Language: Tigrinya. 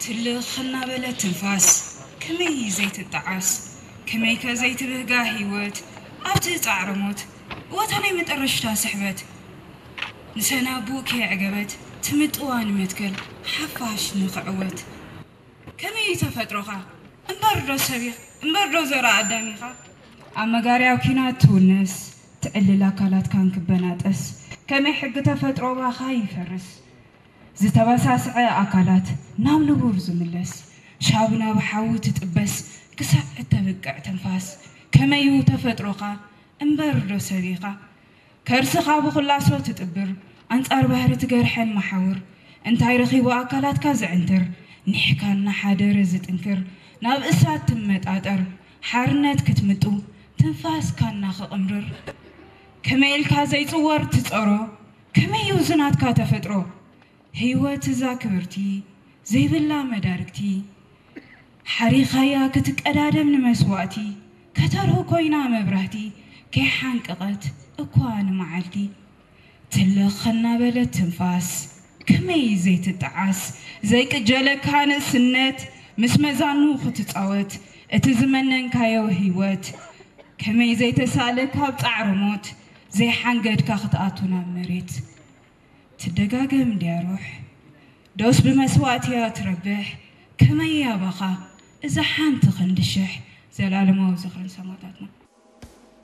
ትልኽ እናበለት ትንፋስ ከመይ ዘይትጠዓስ፣ ከመይከ ዘይትብህጋ ህይወት ኣብቲ ጻዕረ ሞት፣ እወታ ናይ መጠረሽታ ስሕበት። ንሰናቡእ ከየዕገበት ትምጥዋ ንመትከል ሓፋሽ ንኽዕወት። ከመይ እዩ ተፈጥሮኻ እምበር ዶ ሰብ ኢኻ፣ እምበር ዶ ዘራ ኣዳም ኢኻ? ኣብ መጋርያው ኪናት ትውነስ፣ ትዕልል ኣካላትካን ክበናጠስ፣ ከመይ ሕጊ ተፈጥሮ ባኻ ይፈርስ። ዝተበሳስዐ ኣካላት ናብ ንቡር ዝምለስ፣ ሻብ ናብ ሓዊ ትጥበስ፣ ክሳዕ እተብቅዕ ትንፋስ። ከመዩ ተፈጥሮኻ እምበር ዶ ሰብ ኢኻ? ከርስኻ ብኹላሶ ትጥብር፣ ኣንጻር ባህሪ ትገርሐን መሓውር። እንታይ ረኺቡ ኣካላትካ ዝዕንትር፣ ኒሕካ እናሓደረ ዝጥንክር፣ ናብ እሳት ትመጣጠር፣ ሓርነት ክትምጡ፣ ትንፋስካ እናኸቕምርር። ከመይ ኢልካ ዘይጽወር ትጸሮ፣ ከመይ እዩ ዝናትካ ተፈጥሮ? ህይወት እዛ ክብርቲ ዘይብላ መዳርግቲ፣ ሓሪኻያ ክትቀዳደም ንመስዋእቲ፣ ከተርሁ ኮይና መብራህቲ፣ ከይሓንቀቐት እኳ ንመዓልቲ። ትልኽ እናበለት ትንፋስ ከመይ ዘይትጠዓስ፣ ዘይቅጀለካ ንእስነት ምስ መዛኑ ክትጻወት፣ እቲ ዝመነንካዮ ህይወት ከመይ ዘይተሳእለ ካብ ጻዕሪ ሞት፣ ዘይሓንገድካ ክትኣቱ ናብ መሬት። ትደጋገም ድያ ሩሕ? ዶስ ብመስዋእቲ እያ ትረብሕ? ከመይ እያ ባኻ እዛ ሓንቲ ክንዲ ሽሕ? ዘላለማዊ ዝኽሪ ንሰማእታትና።